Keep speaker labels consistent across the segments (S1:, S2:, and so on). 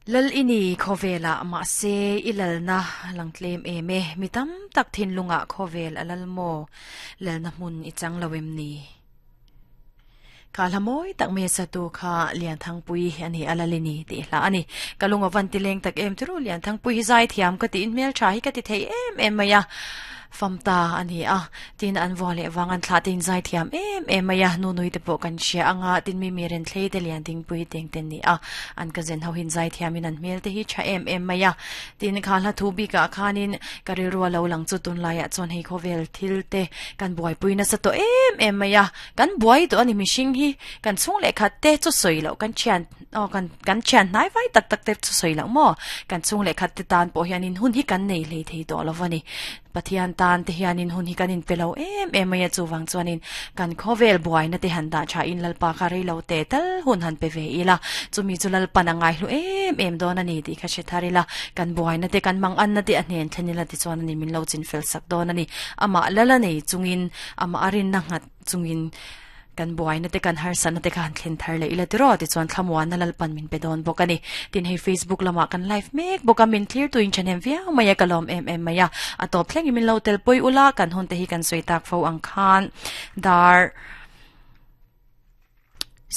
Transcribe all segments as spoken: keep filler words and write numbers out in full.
S1: Lal ini khawvela mahse i lalna lang tlem em e mi tam tak thinlunga khawvel a lal maw lalna hmun i chang lo em ni kha hla mawi tak mai sa tu kha Lianthangpui ani a lalini tih hla ani ka lunga van ti leng tak em chu Lianthangpui hi zai thiam ka ti in hmel tha hi ka ti thei em em mai a famta ani a tin an vua leh wang an thla tin zai thiam em em mai a nu nui te pawh kan hria anga tin mi mi ren thlei te lian ding pui teng ten ni a an ka zen ho hin zai thiam in an hmel te hi tha em em mai a tin kha hla thu bik ah khanin ka rilru lo lang chu tun laiah chuan hei khawvel thil te kan buai pui nasa to em em mai a kan buai to ani mihring hi kan chhung leh khat te chu sawi loh kan thian aw kan kan thian hnai vai tak tak te chu sawi loh maw kan chhung leh khat te tan pawh hianin hun hi kan nei hlei thei tawh lo ani pathian tan te hianin hun hi kanin pelo em em mai a chu wang chuanin kan khawvel buai na te han da tha in lalpa kha rei lo te tal hun han pe ve ila chumi chu lalpa na ngai hlu em em don ani ti kha she tharila kan buai na te kan mang an na te a hnen thlenila ti chuan ani min lo chin fel sak don ani ama lala nei chungin ama arin na ngat chungin kan buai na te kan har san na te khan thlen thar le ila tiro ti chuan thlamuan na lalpan min pe don bawk ani tin hei Facebook lama kan live mek bawk a min clear tu in chanem viau mai a kalom em em mai a a top thleng min lo tel pui ula kan hun te hi kan soi tak fo ang khan dar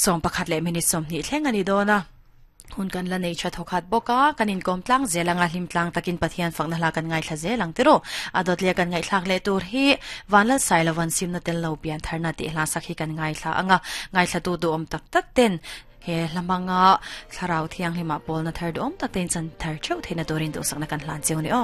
S1: som pakhat le minute som ni thleng ani dona hun kan la nei tha thokhat boka kanin kom tlang zelanga hlim tlang takin pathian fakna hla kan ngai thla zelang tiro adot le kan ngai thlak le tur hi vanlal sailawan simna tel lo pian tharna ti hla sakhi kan ngai thla anga ngai thla tu du om tak tak ten he hlamanga thlarau thiang hlima polna thar du om tak ten chan thar cheu theina turin du sakna kan hlan cheu ni o.